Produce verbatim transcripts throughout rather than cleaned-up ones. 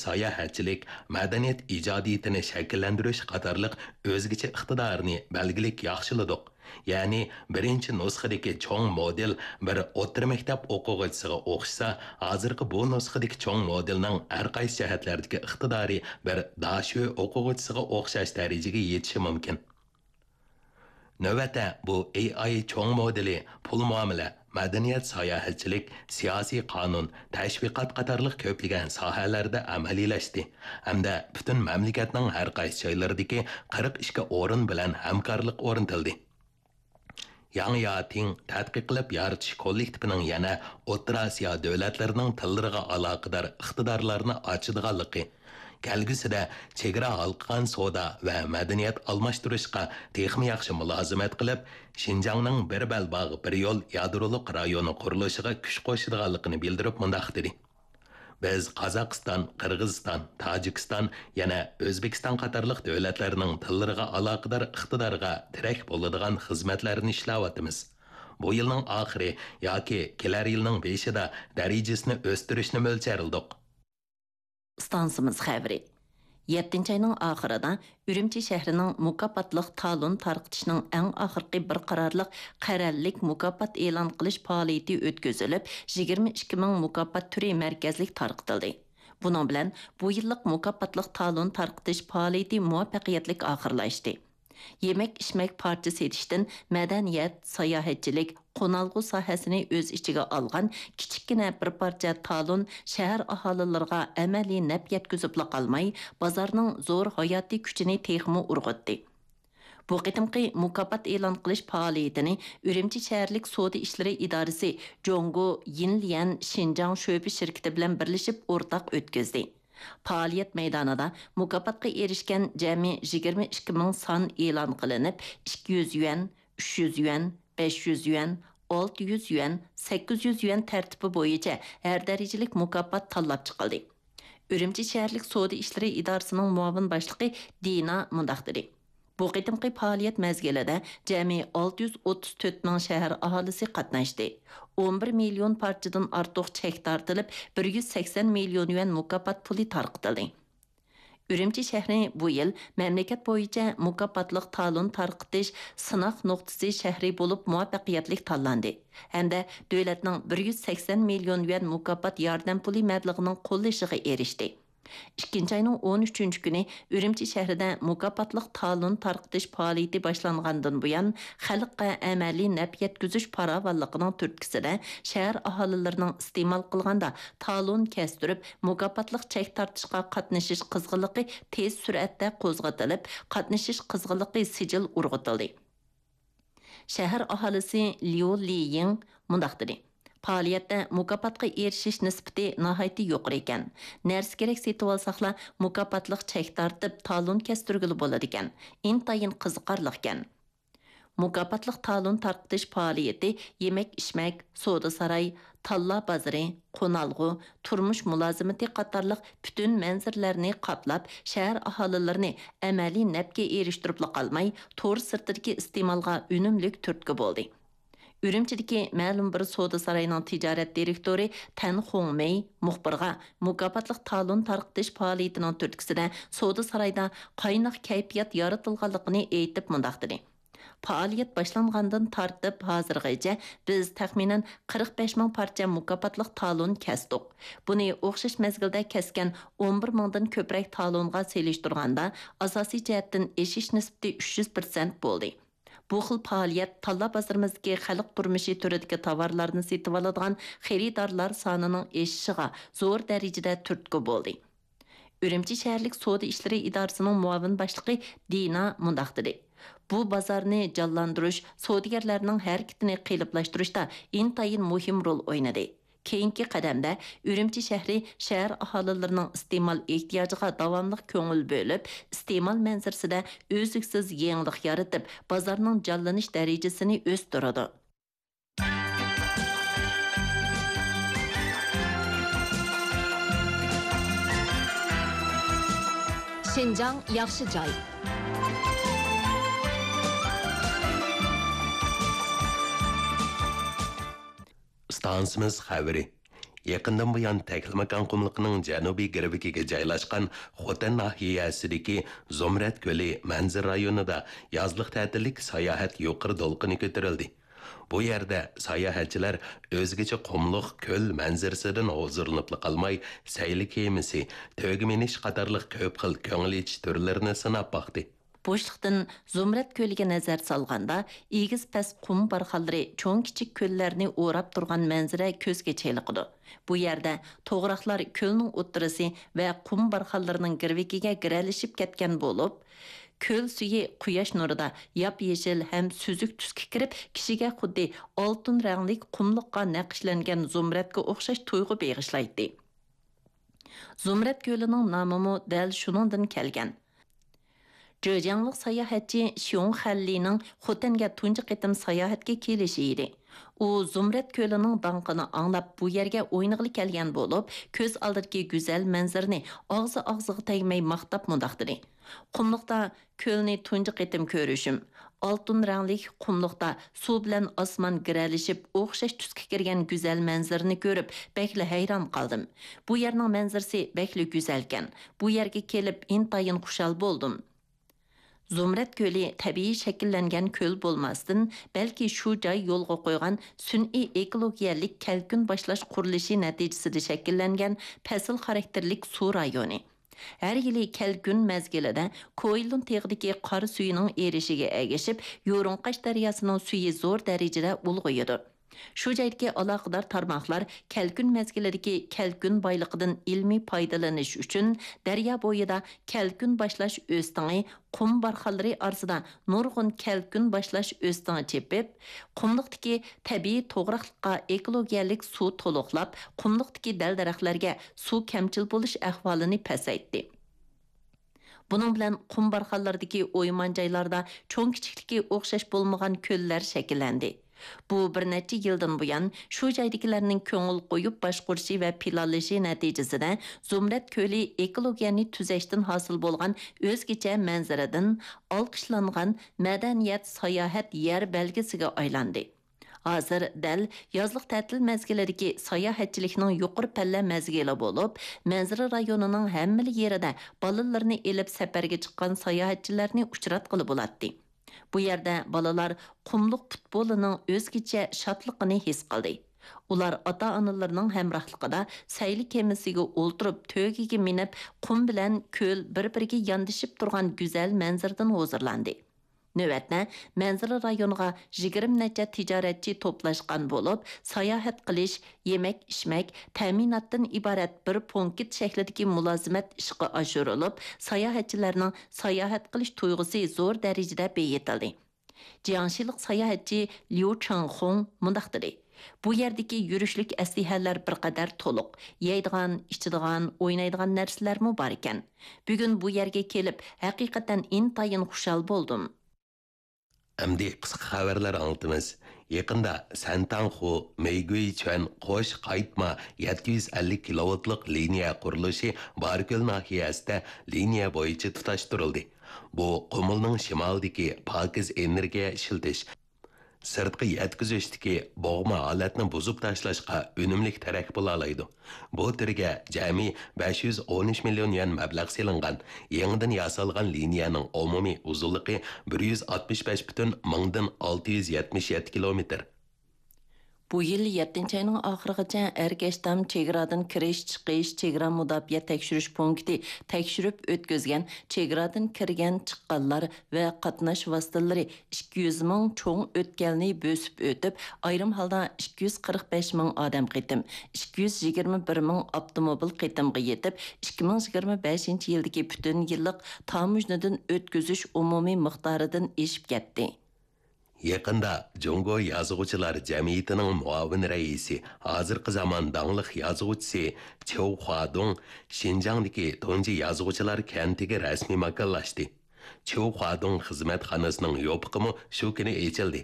ساياھەتچىلىك، مەدەنىيەت ئىجادىيىتىنى شەكىللەندۈرۈش قاتارلىق ئۆزگىچە ئىقتىدارىنى بەلگىلىك ياخشىلىدۇق. يەنى، بىرىنچى نۇسخىدىكى چوڭ مودېل بىر ئوتتۇرا مەكتەپ ئوقۇغۇچىسىغا ئوخشىسا، ھازىرقى بۇ نۇسخىدىكى چوڭ مودېلنىڭ ھەر قايسى جەھەتلەردىكى ئىقتىدارى بىر داشۆ ئوقۇغۇچىسىغا ئوخشاش دەرىجىگە يېتىشى مۇمكىن. نۆۋەتتە بۇ ئېي ئاي چوڭ مودېلى پۇل مۇئامىلە، مەدەنىيەت، ساياھەتچىلىك، سىياسىي قانۇن، تەشۋىقات قاتارلىق كۆپلىگەن ساھەلەردە ئەمەلىيلەشتى ھەمدە پۈتۈن مەملىكەتنىڭ ھەر قايسى جايلىرىدىكى قىرىق ئىككى ئورۇن بىلەن ھەمكارلىق ئورنىتىلدى. ياڭياتىڭ تەتقىق قىلىپ يارىتىش كوللېكتىپىنىڭ يەنە ئوتتۇرا ئاسىيا دۆلەتلىرىنىڭ تىللىرىغا ئالاقىدار ئىقتىدارلارنى ئاچىدىغانلىقى، كەلگۈسىدە چېگرا ھالقىغان سودا ۋە مەدەنىيەت ئالماشتۇرۇشقا تېخىمۇ ياخشى مۇلازىمەت قىلىپ، شىنجاڭنىڭ بىر بەلباغ، بىر يول يادرولۇق رايونى قۇرۇلۇشىغا كۈچ قوشىدىغانلىقىنى بىلدۈرۈپ مۇنداق دېدى: بىز قازاقىستان، قىرغىزىستان، تاجىكىستان، يەنە ئۆزبېكىستان قاتارلىق دۆلەتلەرنىڭ تىللىرىغا ئالاقىدار ئىقتىدارغا تىرەك بولىدىغان خىزمەتلەرنى ئىشلەۋاتىمىز. بۇ يىلنىڭ ئاخىرى ياكى كېلەر يىلنىڭ بېشىدا دەرىجىسىنى ئۆستۈرۈشنى مۆلچەرلىدۇق. ئىستانسىمىز خەۋىرى. يەتتىنچى ئاينىڭ ئاخىرىدا ئۈرۈمچى شەھىرىنىڭ مۇكاپاتلىق تالون تارقىتىشنىڭ ئەڭ ئاخىرقى بىر قارارلىق قەرەللىك مۇكاپات ئېلان قىلىش پائالىيىتى ئۆتكۈزۈلۈپ، يىگىرمە ئىككى مىڭ مۇكاپات تۈرى مەركەزلىك تارقىتىلدى. بۇنىڭ بىلەن بۇ يىللىق مۇكاپاتلىق تالون تارقىتىش پائالىيىتى مۇۋەپپەقىيەتلىك ئاخىرلاشتى. يېمەك-ئىچمەك پارچە سېتىشتىن مەدەنىيەت، ساياھەتچىلىك، قونالغۇ ساھەسىنى ئۆز ئىچىگە ئالغان كىچىككىنە بىر پارچە تالون شەھەر ئاھالىلىرىغا ئەمەلىي نەپ يەتكۈزۈپلا قالماي، بازارنىڭ زور ھاياتىي كۈچىنى تېخىمۇ ئۇرغۇتتى. بۇ قېتىمقى مۇكاپات ئېلان قىلىش پائالىيىتىنى ئۈرۈمچى شەھەرلىك سودا ئىشلىرى ئىدارىسى جۇڭگو يىنليەن شىنجاڭ شۆبە شىركىتى بىلەن بىرلىشىپ ئورتاق ئۆتكۈزدى. پائالىيەت مەيدانىدا مۇكاپاتقا ئېرىشكەن جەمئىي يىگىرمە ئىككى مىڭ سان ئېلان قىلىنىپ، ئىككى يۈز يۈەن، ئۈچ يۈز يۈەن، بەش يۈز يۈەن، ئالتە يۈز يۈەن، سەككىز يۈز يۈەن تەرتىپى بويىچە ھەر دەرىجىلىك مۇكاپات تاللاپ چىقىلدى. ئۈرۈمچى شەھەرلىك سودا ئىشلىرى ئىدارىسىنىڭ مۇئاۋىن باشلىقى دىنا مۇنداق دېدى: بۇ قېتىمقى پائالىيەت مەزگىلىدە جەمئىي ئالتە يۈز ئوتتۇز تۆت مىڭ شەھەر ئاھالىسى قاتناشتى. ئون بىر مىليون پارچىدىن ئارتۇق چەك تارتىلىپ، بىر يۈز سەكسەن مىليون يۈەن مۇكاپات پۇلى تارقىتىلدى. ئۈرۈمچى شەھىرى بۇ يىل مەملىكەت بويىچە مۇكاپاتلىق تالون تارقىتىش سىناق نۇقتىسى شەھىرى بولۇپ مۇۋەپپەقىيەتلىك تاللاندى ھەمدە دۆلەتنىڭ بىر يۈز سەكسەن مىليون يۈەن مۇكاپات ياردەم پۇلى مەبلىغىنىڭ قوللىشىغا ئېرىشتى. ئىككىنچى ئاينىڭ ئون ئۈچىنچى كۈنى ئۈرۈمچى شەھىرىدە مۇكاپاتلىق تالون تارقىتىش پائالىيىتى باشلانغاندىن بۇيان، خەلققە ئەمەلىي نەپ يەتكۈزۈش پاراۋانلىقىنىڭ تۈرتكىسىدە، شەھەر ئاھالىلىرىنىڭ ئىستېمال قىلغاندا تالون كەستۈرۈپ، مۇكاپاتلىق چەك تارتىشقا قاتنىشىش قىزغىنلىقى تېز سۈرئەتتە قوزغىتىلىپ، قاتنىشىش قىزغىنلىقى سىجىل ئۇرغۇتۇلدى. شەھەر ئاھالىسى ليۇ لىيىڭ مۇنداق دېدى: پائالىيەتتە مۇكاپاتقا ئېرىشىش نىسبىتى ناھايىتى يۇقىرى ئىكەن. نەرسە-كېرەك سېتىۋالساقلا، مۇكاپاتلىق چەك تارتىپ، تالون كەستۈرگىلى بولىدىكەن. ئىنتايىن قىزىقارلىقكەن. مۇكاپاتلىق تالون تارقىتىش پائالىيىتى يېمەك-ئىچمەك، سودا-ساراي، تاللا بازىرى، قونالغۇ، تۇرمۇش مۇلازىمىتى قاتارلىق پۈتۈن مەنزىرىلەرنى قاپلاپ، شەھەر ئاھالىلىرىنى ئەمەلىي نەپكە ئېرىشتۈرۈپلا قالماي، تور سىرتىدىكى ئىستېمالغا ئۈنۈملۈك تۈرتكە بولدى. ئۈرۈمچىدىكى مەلۇم بىر سودا ساراينىڭ تىجارەت دىرېكتورى تەن خۇڭمېي مۇخبىرغا مۇكاپاتلىق تالون تارقىتىش پائالىيىتىنىڭ تۈرتكىسىدە سودا سارايدا قايناق كەيپىيات يارىتىلغانلىقىنى ئېيتىپ مۇنداق دېدى: پائالىيەت باشلانغاندىن تارتىپ ھازىرغىچە بىز تەخمىنەن قىرىق بەش مىڭ پارچە مۇكاپاتلىق تالون كەستۇق. بۇنى ئوخشاش مەزگىلدە كەسكەن ئون بىر مىڭدىن كۆپرەك تالونغا سېلىشتۇرغاندا، ئاساسىي جەھەتتىن ئېشىش نىسبىتى ئۈچ يۈز پىرسەنت بولدى. بۇ خىل پائالىيەت تاللا بازىرىمىزدىكى خەلق تۇرمۇشى تۈرىدىكى تاۋارلارنى سېتىۋالىدىغان خېرىدارلار سانىنىڭ ئېشىشىغا زور دەرىجىدە تۈرتكە بولدى. ئۈرۈمچى شەھەرلىك سودا ئىشلىرى ئىدارىسىنىڭ مۇئاۋىن باشلىقى دىنا مۇنداق دېدى: بۇ بازارنى جانلاندۇرۇش، سودىگەرلەرنىڭ ھەرىكىتىنى قېلىپلاشتۇرۇشتا ئىنتايىن مۇھىم رول ئوينىدى. كېيىنكى قەدەمدە ئۈرۈمچى شەھىرى شەھەر ئاھالىلىرىنىڭ ئىستېمال ئېھتىياجىغا داۋاملىق كۆڭۈل بۆلۈپ، ئىستېمال مەنزىرىسىدە ئۈزلۈكسىز يېڭىلىق يارىتىپ، بازارنىڭ جانلىنىش دەرىجىسىنى ئۆستۈرىدۇ. شىنجاڭ ياخشى جاي. ئىستانسىمىز خەۋىرى. يېقىندىن بۇيان، تەكلىماكان قۇملۇقىنىڭ جەنۇبىي گىرۋىكىگە جايلاشقان خوتەن ناھىيەسىدىكى زۇمرەت كۆلى مەنزىرە رايونىدا يازلىق تەتىللىك ساياھەت يۇقىرى دولقۇنى كۆتۈرۈلدى. بۇ يەردە ساياھەتچىلەر ئۆزگىچە قۇملۇق كۆل مەنزىرىسىدىن ھۇزۇرلىنىپلا قالماي، سەيلە كېمىسى، تۆگە مىنىش قاتارلىق كۆپ خىل كۆڭۈل ئېچىش تۈرلىرىنى سىناپ باقتى. بوشلۇقتىن زۇمرەت كۆلىگە نەزەر سالغاندا، ئېگىز پەس قۇم بارخانلىرى چوڭ كىچىك كۆللەرنى ئوراپ تۇرغان مەنزىرە كۆزگە چېلىقىدۇ. بۇ يەردە توغراقلار كۆلنىڭ ئوتتۇرىسى ۋە قۇم بارخانلىرىنىڭ گىرۋىكىگە گىرەلىشىپ كەتكەن بولۇپ، كۆل سۈيى قۇياش نۇرىدا ياپيېشىل ھەم سۈزۈك تۈسكە كىرىپ، كىشىگە خۇددى ئالتۇن رەڭلىك قۇملۇققا نەقىشلەنگەن زۇمرەتكە ئوخشاش تۇيغۇ بېغىشلايتتى. زۇمرەت كۆلىنىڭ نامىمۇ دەل شۇنىڭدىن كەلگەن. جېجياڭلىق ساياھەتچى شيۇڭ خەنلىنىڭ خوتەنگە تۇنجى قېتىم ساياھەتكە كېلىشى ئىدى. ئۇ زۇمرەت كۆلىنىڭ داڭقىنى ئاڭلاپ، بۇ يەرگە ئوينىغىلى كەلگەن بولۇپ، كۆز ئالدىدىكى گۈزەل مەنزىرىنى ئاغزى ئاغزىغا تەگمەي ماختاپ مۇنداق دېدى: «قۇملۇقتا كۆلنى تۇنجى قېتىم كۆرۈشۈم. ئالتۇن رەڭلىك قۇملۇقتا سۇ بىلەن ئاسمان گىرەلىشىپ، ئوخشاش تۈسكە كىرگەن گۈزەل مەنزىرىنى كۆرۈپ، بەكلا ھەيران قالدىم. بۇ يەرنىڭ مەنزىرىسى بەكلا گۈزەلكەن. بۇ يەرگە كېلىپ، ئىنتايىن خۇشال بولدۇم.» زۇمرەت كۆلى تەبىئىي شەكىللەنگەن كۆل بولماستىن، بەلكى شۇ جاي يولغا قويغان سۈنئىي ئېكولوگىيەلىك كەلكۈن باشلاش قۇرۇلۇشى نەتىجىسىدە شەكىللەنگەن پەسىل خاراكتېرلىك سۇ رايونى. ھەر يىلى كەلكۈن مەزگىلىدە كوئىلۇن تېغىدىكى قار سۈيىنىڭ ئېرىشىگە ئەگىشىپ، يۇرۇڭقاش دەرياسىنىڭ سۈيى زور دەرىجىدە ئۇلغىيىدۇ. شۇ جايدىكى ئالاقىدار تارماقلار كەلكۈن مەزگىلىدىكى كەلكۈن بايلىقىدىن ئىلمىي پايدىلىنىش ئۈچۈن، دەريا بويىدا كەلكۈن باشلاش ئۆستىڭى، قۇم بارخانلىرى ئارىسىدا نۇرغۇن كەلكۈن باشلاش ئۆستىڭى چېپىپ، قۇملۇقتىكى تەبىئىي توغراقلىققا ئېكولوگىيەلىك سۇ تولۇقلاپ، قۇملۇقتىكى دەل-دەرەخلەرگە سۇ كەمچىل بولۇش ئەھۋالىنى پەسەيتتى. بۇنىڭ بىلەن قۇم بارخانلىرىدىكى ئويمان جايلاردا چوڭ-كىچىكلىكى ئوخشاش بولمىغان كۆللەر شەكىللەندى. بۇ بىر نەچچە يىلدىن بۇيان شۇ جايدىكىلەرنىڭ كۆڭۈل قويۇپ باشقۇرۇشى ۋە پىلانلىشى نەتىجىسىدە، زۇمرەت كۆلى ئېكولوگىيەنى تۈزەشتىن ھاسىل بولغان ئۆزگىچە مەنزىرىدىن ئالقىشلانغان مەدەنىيەت، ساياھەت يەر بەلگىسىگە ئايلاندى. ھازىر دەل يازلىق تەتىل مەزگىلىدىكى ساياھەتچىلىكنىڭ يۇقىرى پەللە مەزگىلى بولۇپ، مەنزىرە رايونىنىڭ ھەممىلا يېرىدە بالىلىرىنى ئېلىپ سەپەرگە چىققان ساياھەتچىلەرنى ئۇچراتقىلى بولاتتى. بۇ يەردە بالىلار قۇملۇق پۇتبولىنىڭ ئۆزگىچە شادلىقىنى ھېس قىلدى. ئۇلار ئاتا-ئانىلىرىنىڭ ھەمراھلىقىدا سەيلە كېمىسىگە ئولتۇرۇپ، تۆگىگە مىنىپ، قۇم بىلەن كۆل بىر-بىرىگە ياندىشىپ تۇرغان گۈزەل مەنزىرىدىن ھۇزۇرلاندى. نۆۋەتتە، مەنزىرە رايونىغا يىگىرمە نەچچە تىجارەتچى توپلاشقان بولۇپ، ساياھەت قىلىش، يېمەك-ئىچمەك، تەمىناتتىن ئىبارەت بىر پونكىت شەكلىدىكى مۇلازىمەت ئىشقا ئاشۇرۇلۇپ، ساياھەتچىلەرنىڭ ساياھەت قىلىش تۇيغۇسى زور دەرىجىدە بېيىتىلدى. جياڭشىلىق ساياھەتچى ليۇ چېڭخۇڭ مۇنداق دېدى: «بۇ يەردىكى يۈرۈشلۈك ئەسلىھەلەر بىر قەدەر تولۇق، يەيدىغان، ئىچىدىغان، ئوينايدىغان نەرسىلەرمۇ بار ئىكەن. بۈگۈن بۇ يەرگە كېلىپ، ھەقىقەتەن ئىنتايىن خۇشال بولدۇم.» ئەمدى قىسقا خەۋەرلەر ئاڭلىتىمىز. يېقىندا سەنتاڭخۇ، مېيگۈيچۈەن قوش قايتما يەتتە يۈز ئەللىك كىلوۋولتلۇق لىنىيە قۇرۇلۇشى باركۆل ناھىيەسىدە لىنىيە بويىچە تۇتاشتۇرۇلدى. بۇ قۇمۇلنىڭ شىمالىدىكى پاكىز ئېنېرگىيە ئىشلىتىش، سىرتقا يەتكۈزۈشتىكى بوغما ھالەتنى بۇزۇپ تاشلاشقا ئۈنۈملۈك تىرەك بولالايدۇ. بۇ تۈرگە جەمئىي بەش يۈز ئون ئۈچ مىليون يۈەن مەبلەغ سېلىنغان. يېڭىدىن ياسالغان لىنىيەنىڭ ئومۇمىي ئۇزۇنلۇقى بىر يۈز ئاتمىش بەش پۈتۈن مىڭدىن ئالتە يۈز يەتمىش يەتتە كىلومېتىر. بۇ يىل يەتتىنچى ئاينىڭ ئاخىرىغىچە ئەركەشتام چېگرادىن كىرىش-چىقىش، چېگرا مۇداپىئە تەكشۈرۈش پونكىتى تەكشۈرۈپ ئۆتكۈزگەن چېگرادىن كىرگەن-چىققانلار ۋە قاتناش ۋاسىتىلىرى ئىككى يۈز مىڭ چوڭ ئۆتكەلنى بۆسۈپ ئۆتۈپ، ئايرىم ھالدا ئىككى يۈز قىرىق بەش مىڭ ئادەم قېتىم، ئىككى يۈز يىگىرمە بىر مىڭ ئاپتوموبىل قېتىمغا يېتىپ، ئىككى مىڭ يىگىرمە بەشىنچى يىلدىكى پۈتۈن يىللىق تاموژنىدىن ئۆتكۈزۈش ئومۇمىي مىقدارىدىن ئېشىپ كەتتى. يېقىندا جۇڭگو يازغۇچىلار جەمئىيىتىنىڭ مۇئاۋىن رەئىسى، ھازىرقى زامان داڭلىق يازغۇچىسى چيۇ خۇادۇڭ شىنجاڭدىكى تۇنجى يازغۇچىلار كەنتىگە رەسمىي ماكانلاشتى. چيۇ خۇادۇڭ خىزمەتخانىسىنىڭ يوپۇقىمۇ شۇ كۈنى ئېچىلدى.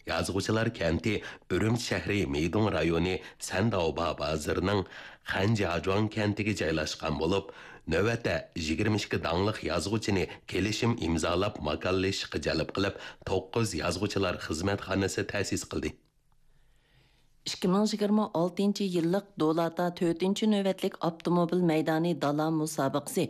يازغۇچىلار كەنتى ئۈرۈمچى شەھىرى مىدۇڭ رايونى سەنداۋبا بازىرىنىڭ خەنجياجۇاڭ كەنتىگە جايلاشقان بولۇپ، نۆۋەتتە يىگىرمە ئىككى داڭلىق يازغۇچىنى كېلىشىم ئىمزالاپ ماكانلىشىشقا جەلپ قىلىپ، توققۇز يازغۇچىلار خىزمەتخانىسى تەسىس قىلدى. ئىككى مىڭ يىگىرمە ئالتىنچى يىللىق دۇلاتا تۆتىنچى نۆۋەتلىك ئاپتوموبىل مەيدانى دالا مۇسابىقىسى